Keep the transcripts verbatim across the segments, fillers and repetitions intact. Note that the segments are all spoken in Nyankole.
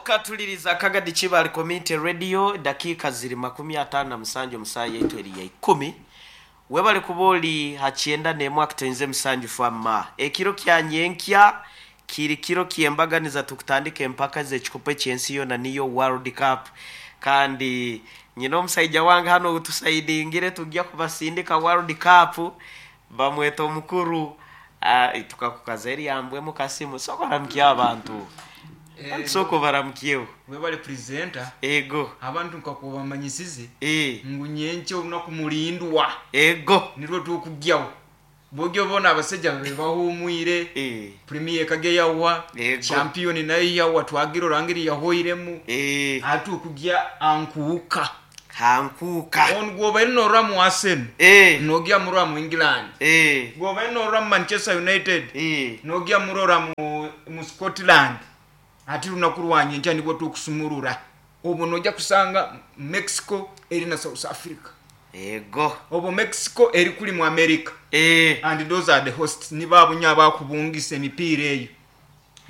Okatuliriza Kagadi Kibaale Community Radio, dakiika ziri makumi ataano na musanju omusaaya yaitu eri ya ikumi. Webale kuba ori ha kyenda n'emwe akatoinze musanju fama. Ekiro kya nyenkya kiri kiro ky'embaganiza, tukutandika empaka z'ekikopo eky'ensi yoona, niyo World Cup. Kandi nyina omusaija wange hano otusaidingire tujja kubasindika World Cup, bamweta omukuru uh, tukakukaza eryambwemu Kasimu. Sokoramukya abantu. Eh, soko baramukyeho. Webale, presenter. Ego. Abantu nkakubamanyisize e ngu nyenkya olunaku mulindwa, ego nirwo tukugyaho bogyo bona abasajja babe bahumwire. E premier kage yawa, Ego. champion nayo yawa, twagira orangiri yahoiremu. E atukugya ankuuka. Hankuka. On gwobaire norora mu Arsenal, e nogya murora mu England. E gwobaire norora mu Manchester United, e nogya murora mu, mu Scotland. Ati lunaku lwanyenkya nibwo tukusumurura, obwo nojja kusanga Mexico eri na South Africa. Ego. Obwo Mexico eri kuli mu America. E and those are the hosts, nibabunya abakubungisa emipiira eyo.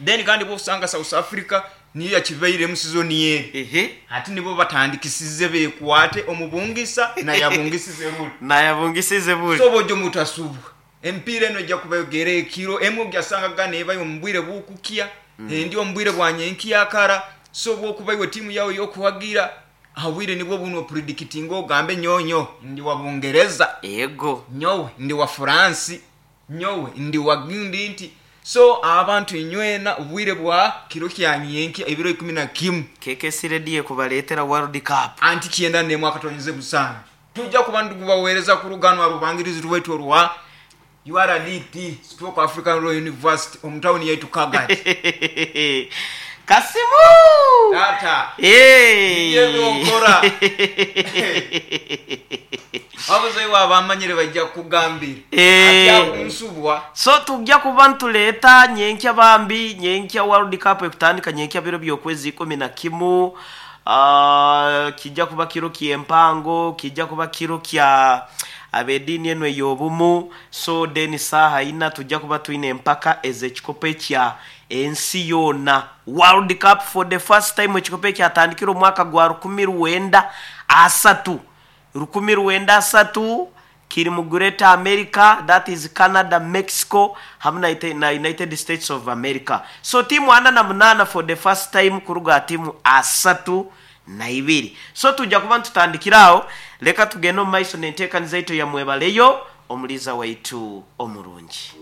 Then kandi bwosanga South Africa niyo yakivaire mu season yeri, ehe ati nibo batandikisize bekwate omubungisa nayabungisize ruli. Nayabungisize buli. So bojo mutasubwa, emipiira eno ejja kubayogera ekiro emu ojasanga gana ebayo omubwire bukukya mm. endi omubwire bwanyenkyakara. So bwokuba iwe tiimu yawe yokuwagira abwire nibwo buno predikitinga, ogambe nyonyo ndi wa Bungereza, ego nyowe ndi wa Furansi, nyowe ndi wa gundi nti. So abantu inywena obwire bwa kiro kyanyenkya ebiro ikumi na kimu. K K C Radio kubaleetera World Cup. Anti kyenda nemu akatonyeze musanju tujja kuba ndikubaweereza ku luganwa rubangirizi rwaitu orwa U R D T stroke African Royal University omu tawuni yaitu Kagadi. Kasimu. Tata. Hey. Yebyokora abazayi abamanyire bajja kukugambira. Eh. Atyakunsubwa. So tujja kuba ntuleeta nyenkya bambi, nyenkya World Cup ekutandika nyenkya biro byokwezi ikumi na kimu. uh, kijja kuba kiro kyempango, kijja kuba kiro kya abediini eno ey'obumu. So then saaha ina tujja kuba twine empaka ez'ekikopo ekya ensi yoona, World Cup. For the first time ekikopo ekyatandikire omwaka gwa rukumi rwenda asatu, rukumi rwenda asatu, kiri mu Great America, that is Canada, Mexico hamwe na Ite- na United States of America. So timu ana na munana for the first time kuruga timu asatu na ibiri. So tujja kuba ntutandikiraho. Leka tugende omu maiso nenteekaniza yaitu ya mwebaleyo omuliza waitu omurungi.